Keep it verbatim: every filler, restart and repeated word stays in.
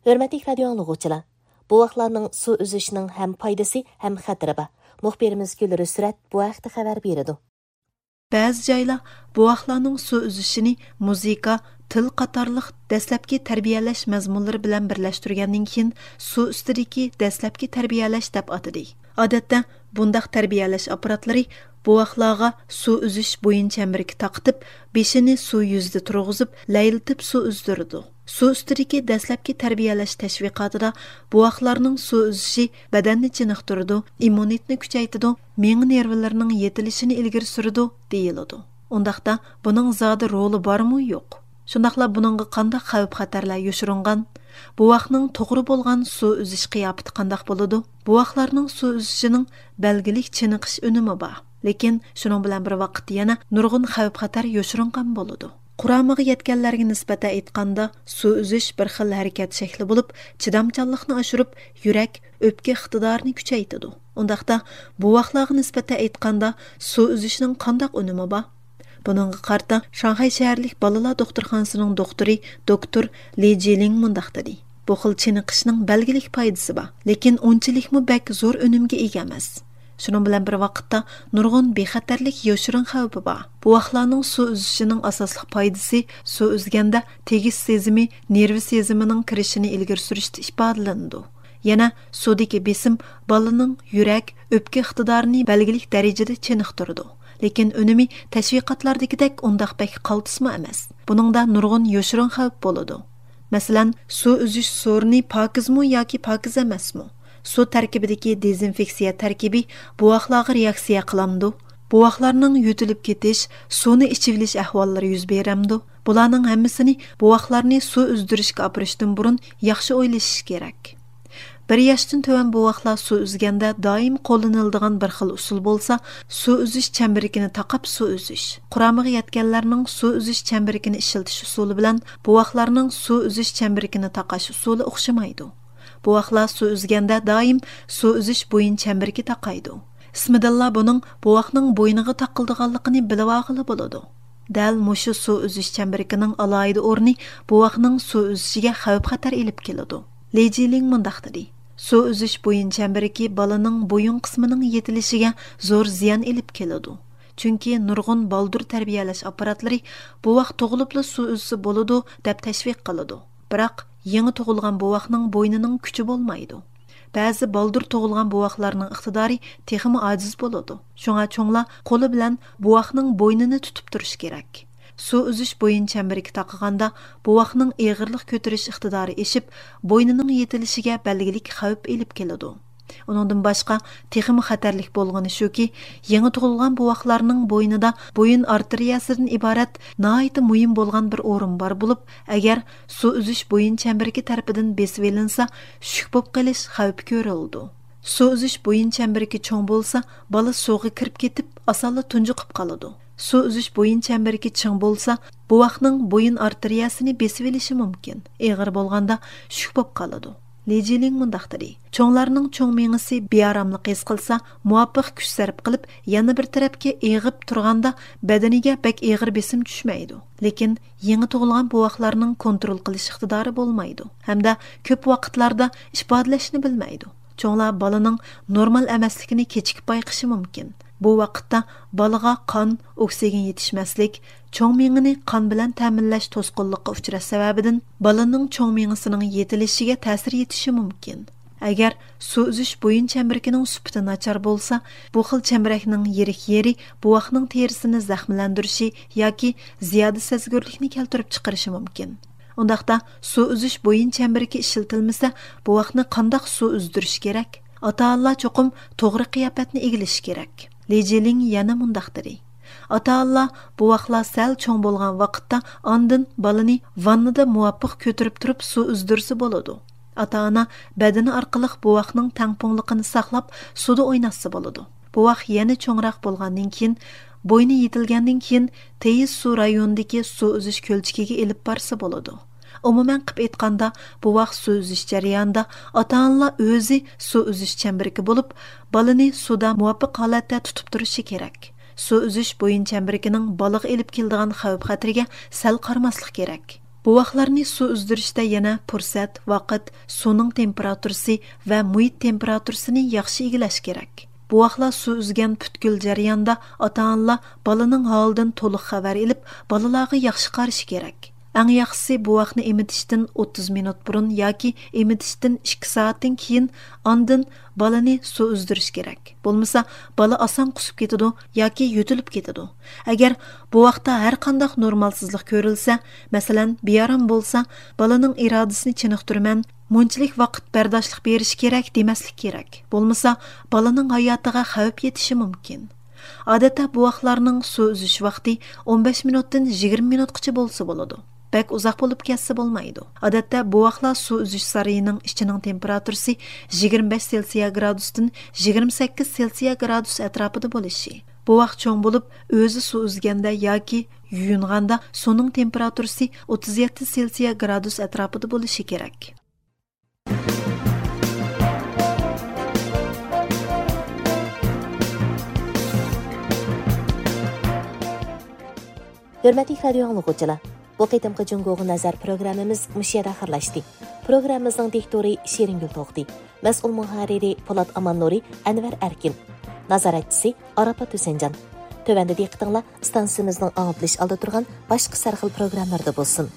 ھۆرمەتلىك رادىيو ئاڭلىغۇچىلار، بوۋاقلارنىڭ سۇ ئۈزۈشىنىڭ ھەم پايدىسى، ھەم خەتىرى بار. مۇخبىرىمىز گۈل رۇسرەت بۇ ھەقتە خەۋەر بېرىدۇ. بەزى جايلار بوۋاقلارنىڭ سۇ ئۈزۈشىنى مۇزىكا، تىل قاتارلىق دەسلەپكى تەربىيەلەش مەزمۇنلىرى بىلەن بىرلەشتۈرگەندىن كېيىن، سۇ ئۈستىدىكى دەسلەپكى تەربىيەلەش دەپ ئاتىدى. ئادەتتە بۇنداق تەربىيەلەش ئاپپاراتلىرى بوۋاقلارغا سۇ ئۈزۈش بويۇن چەمبىرىكى تاقىتىپ، بېشىنى سۇ يۈزىدە تۇرغۇزۇپ، لەيلىتىپ سۇ ئۈزدۈرىدۇ. سۇ ئۈستىدىكى دەسلەپكى تەربىيەلەش تەشۋىقاتىدا بوۋاقلارنىڭ سۇ ئۈزۈشى بەدەننى چېنىقتۇرىدۇ، ئىممۇنىتېتنى كۈچەيتىدۇ، مېڭە نېرۋىلىرىنىڭ يېتىلىشىنى ئىلگىرى سۈرىدۇ، دېيىلىدۇ. ئۇنداقتا بۇنىڭ زادى رولى بارمۇ يوق؟ شۇنداقلا بۇنىڭغا قانداق خەۋپ-خەتەرلەر يوشۇرۇنغان؟ بوۋاقنىڭ توغرا بولغان سۇ ئۈزۈش قىياپىتى قانداق بولىدۇ؟ بوۋاقلارنىڭ سۇ ئۈزۈشىنىڭ بەلگىلىك چېنىقىش ئۈنۈمى بار. لېكىن شۇنىڭ بىلەن بىر ۋاقىتتا يەنە نۇرغۇن خەۋپ-خەتەر يوشۇرۇنغان بولىدۇ. قۇرامىغا يەتكەنلەرگە نىسبەتەن ئېيتقاندا، سۇ ئۈزۈش بىر خىل ھەرىكەت شەكلى بولۇپ، چىدامچانلىقنى ئاشۇرۇپ، يۈرەك، ئۆپكە ئىقتىدارىنى كۈچەيتىدۇ. ئۇنداقتا، بوۋاقلارغا نىسبەتەن ئېيتقاندا، سۇ ئۈزۈشنىڭ قانداق ئۈنۈمى بار؟ بۇنىڭغا قارىتا، شاڭخەي شەھەرلىك بالىلار دوختۇرخانىسىنىڭ دوختۇرى، دوكتور لى جىلىڭ مۇنداق دېدى: بۇ خىل چېنىقىشنىڭ بەلگىلىك پايدىسى بار، لېكىن ئۇنچىلىكمۇ بەك زور ئۈنۈمگە ئىگە ئەمەس. شۇنىڭ بىلەن بىر ۋاقىتتا، نۇرغۇن بىخەتەرلىك يوشۇرۇن خەۋپى بار. بوۋاقلارنىڭ سۇ ئۈزۈشىنىڭ ئاساسلىق پايدىسى سۇ ئۈزگەندە تېگىش سېزىمى، نېرۋا سېزىمىنىڭ كىرىشىنى ئىلگىرى سۈرۈشتە ئىپادىلىنىدۇ. يەنە سۇدىكى بېسىم بالىنىڭ يۈرەك، ئۆپكە ئىقتىدارىنى بەلگىلىك دەرىجىدە چېنىقتۇرىدۇ. لېكىن ئۈنۈمى تەشۋىقاتلاردىكىدەك ئۇنداق بەك قالتىسمۇ ئەمەس. بۇنىڭدا نۇرغۇن يوشۇرۇن خەۋپ بولىدۇ. مەسىلەن، سۇ ئۈزۈش سورۇنى پاكىزمۇ ياكى پاكىز ئەمەسمۇ؟ سۇ تەركىبىدىكى دېزىنفېكسىيە تەركىبى بوۋاقلارغا رېئاكسىيە قىلامدۇ؟ بوۋاقلارنىڭ يۆتىلىپ كېتىش، سۇنى ئىچىۋېلىش ئەھۋاللىرى يۈز بېرەمدۇ؟ بۇلارنىڭ ھەممىسىنى بوۋاقلارنى سۇ ئۈزدۈرۈشكە ئاپىرىشتىن بۇرۇن ياخشى ئويلىشىش كېرەك. بىر ياشتىن تۆۋەن بوۋاقلار سۇ ئۈزگەندە دائىم قوللىنىلىدىغان بىر خىل ئۇسۇل بولسا، سۇ ئۈزۈش چەمبىرىكىنى تاقاپ سۇ ئۈزۈش. قۇرامىغا يەتكەنلەرنىڭ سۇ ئۈزۈش چەمبىرىكىنى ئىشلىتىش ئۇسۇلى بىلەن بوۋاقلارنىڭ سۇ ئۈزۈش چەمبىرىكىنى تاقاش ئۇسۇلى ئوخشىمايدۇ. بوۋاقلار سۇ ئۈزگەندە دائىم سۇ ئۈزۈش بويۇن چەمبىرىكى تاقايدۇ. ئىسمىدىنلا بۇنىڭ بوۋاقنىڭ بوينىغا تاقىلىدىغانلىقىنى بىلىۋالغىلى بولىدۇ. دەل مۇشۇ سۇ ئۈزۈش چەمبىرىكىنىڭ ئالاھىدە ئورنى بوۋاقنىڭ سۇ ئۈزۈشىگە خەۋپ-خەتەر ئېلىپ كېلىدۇ. لى جىلىڭ مۇنداق دېدى: سۇ ئۈزۈش بويۇن چەمبىرىكى بالىنىڭ بويۇن قىسمىنىڭ يېتىلىشىگە زور زىيان ئېلىپ كېلىدۇ. چۈنكى نۇرغۇن بالدۇر تەربىيەلەش ئاپپاراتلىرى بوۋاق تۇغۇلۇپلا سۇ ئۈزسە بولىدۇ، دەپ تەشۋىق قىلىدۇ. بىراق، يېڭى تۇغۇلغان بوۋاقنىڭ بوينىنىڭ كۈچى بولمايدۇ. بەزى بالدۇر تۇغۇلغان بوۋاقلارنىڭ ئىقتىدارى تېخىمۇ ئاجىز بولىدۇ. شۇڭا چوڭلار قولى بىلەن بوۋاقنىڭ بوينىنى تۇتۇپ تۇرۇشى كېرەك. سۇ ئۈزۈش بويۇن چەمبىرىكى تاقىغاندا، بوۋاقنىڭ ئېغىرلىق كۆتۈرۈش ئىقتىدارى ئېشىپ، بوينىنىڭ يېتىلىشىگە بەلگىلىك خەۋپ ئېلىپ كېلىدۇ. ئۇنىڭدىن باشقا، تېخىمۇ خەتەرلىك بولغىنى شۇكى، يېڭى تۇغۇلغان بوۋاقلارنىڭ بوينىدا بويۇن ئارتېرىيەسىدىن ئىبارەت ناھايىتى مۇھىم بولغان بىر ئورۇن بار بولۇپ، ئەگەر سۇ ئۈزۈش بويۇن چەمبىرىكى تەرىپىدىن بېسىۋېلىنسا، شۈك بولۇپ قېلىش خەۋپى كۆرۈلىدۇ. سۇ ئۈزۈش بويۇن چەمبىرىكى چوڭ بولسا، بالا سۇغا كىرىپ كېتىپ، ئاسانلا تۇنجۇقۇپ قالىدۇ. سۇ ئۈزۈش بويۇن چەمبىرىكى چىڭ بولسا، بوۋاقنىڭ بويۇن ئارتېرىيەسىنى بېسىۋېلىشى مۇمكىن. ئېغىر بولغاندا، شۈك بولۇپ قالىدۇ. لى جىلىڭ مۇنداق دېدى: چوڭلارنىڭ چوڭ مېڭىسى بىئاراملىق ھېس قىلسا، مۇۋاپىق كۈچ سەرپ قىلىپ، يەنە بىر تەرەپكە ئېغىپ تۇرغاندا، بەدىنىگە بەك ئېغىر بېسىم چۈشمەيدۇ. لېكىن يېڭى تۇغۇلغان بوۋاقلارنىڭ كونترول قىلىش ئىقتىدارى بولمايدۇ ھەمدە كۆپ ۋاقىتلاردا ئىپادىلەشنى بىلمەيدۇ. چوڭلار بالىنىڭ نورمال ئەمەسلىكىنى كېچىكىپ بايقىشى مۇمكىن. بۇ ۋاقىتتا بالىغا قان، ئوكسىگېن يېتىشمەسلىك، چوڭ مېڭىنى قان بىلەن تەمىنلەش توسقۇنلۇققا ئۇچراش سەۋەبىدىن بالىنىڭ چوڭ مېڭىسىنىڭ يېتىلىشىگە تەسىر يېتىشى مۇمكىن. ئەگەر سۇ ئۈزۈش بويۇن چەمبىرىكىنىڭ سۈپىتى ناچار بولسا، بۇ خىل چەمبىرەكنىڭ يىرىك يېرى بوۋاقنىڭ تېرىسىنى زەخىملەندۈرۈشى ياكى زىيادە سەزگۈرلۈكنى كەلتۈرۈپ چىقىرىشى مۇمكىن. ئۇنداقتا، سۇ ئۈزۈش بويۇن چەمبىرىكى ئىشلىتىلمىسە، بوۋاقنى قانداق سۇ ئۈزدۈرۈش كېرەك؟ ئاتا-ئانىلار چوقۇم توغرا قىياپەتنى ئىگىلىشى كېرەك. لى جىلىڭ يەنە مۇنداق دېدى: ئاتا-ئانىلار بوۋاقلار سەل چوڭ بولغان ۋاقىتتا ئاندىن بالىنى ۋاننىدا مۇۋاپىق كۆتۈرۈپ تۇرۇپ سۇ ئۈزدۈرسە بولىدۇ. ئاتا-ئانا بەدىنى ئارقىلىق بوۋاقنىڭ تەڭپۇڭلۇقىنى ساقلاپ، سۇدا ئويناتسا بولىدۇ. بوۋاق يەنە چوڭراق بولغاندىن كېيىن، بوينى يېتىلگەندىن كېيىن، تېيىز سۇ رايونىدىكى سۇ ئۈزۈش كۆلچىكىگە ئېلىپ بارسا بولىدۇ. ئومۇمەن قىلىپ ئېيتقاندا، بوۋاق سۇ ئۈزۈش جەريانىدا ئاتا-ئانىلار ئۆزى سۇ ئۈزۈش چەمبىرىكى بولۇپ، بالىنى سۇدا مۇۋاپىق ھالەتتە تۇتۇپ تۇرۇشى كېرەك. سۇ ئۈزۈش بويۇن چەمبىرىكىنىڭ بالىغا ئېلىپ كېلىدىغان خەۋپ-خەتىرىگە سەل قارىماسلىق كېرەك. بوۋاقلارنى سۇ ئۈزدۈرۈشتە يەنە پۇرسەت، ۋاقىت، سۇنىڭ تېمپېراتۇرىسى ۋە مۇھىت تېمپېراتۇرىسىنى ياخشى ئىگىلەش كېرەك. بوۋاقلار سۇ ئۈزگەن پۈتكۈل جەرياندا ئاتا-ئانىلار بالىنىڭ ھالىدىن تولۇق خەۋەر ئېلىپ، بالىلارغا ياخشى قارىشى كېرەك. ئەڭ ياخشىسى بوۋاقنى ئېمىتىشتىن ئوتتۇز مىنۇت بۇرۇن ياكى ئېمىتىشتىن ئىككى سائەتتىن كېيىن ئاندىن بالىنى سۇ ئۈزدۈرۈش كېرەك. بولمىسا بالا ئاسان قۇسۇپ كېتىدۇ ياكى يۆتىلىپ كېتىدۇ. ئەگەر بوۋاقتا ھەر قانداق نورمالسىزلىق كۆرۈلسە، مەسىلەن، بىئارام بولسا، بالىنىڭ ئىرادىسىنى چېنىقتۇرىمەن، مۇنچىلىك ۋاقىت بەرداشلىق بېرىش كېرەك دېمەسلىك كېرەك. بولمىسا بالىنىڭ ھاياتىغا خەۋپ يېتىشى مۇمكىن. ئادەتتە بوۋاقلارنىڭ سۇ ئۈزۈش ۋاقتى ئون بەش مىنۇتتىن يىگىرمە مىنۇتقىچە بولسا بولىدۇ. بەك ئۇزاق بولۇپ كەتسە بولمايدۇ. ئادەتتە بوۋاقلار سۇ ئۈزۈش سارىيىنىڭ ئىچىنىڭ تېمپېراتۇرىسى يىگىرمە بەش سېلسىيە گرادۇستىن يىگىرمە سەككىز سېلسىيە گرادۇس ئەتراپىدا بولۇشى. بوۋاق چوڭ بولۇپ، ئۆزى سۇ ئۈزگەندە ياكى يۇيۇنغاندا سۇنىڭ تېمپېراتۇرىسى ئوتتۇز يەتتە سېلسىيە گرادۇس ئەتراپىدا بولۇشى كېرەك. ھۆرمەتلىك رادىيو ئاڭلىغۇچىلار، بۇ قېتىمقى جۇڭگوغا نەزەر پروگراممىمىز مۇشۇ يەردە ئاخىرلاشتى. پروگراممىمىزنىڭ دىكتورى شېرىنگۈل توختى، مەسئۇل مۇھەررىرى پولات ئاماننۇرى، ئەنۋەر ئەركىن، نازارەتچىسى ئاراپات ھۈسەنجان. تۆۋەندە دىققىتىڭلار ئىستانسىمىزنىڭ ئاڭلىتىلىش ئالدىدا تۇرغان باشقا سەرخىل پروگراممىلىرىدا بولسۇن.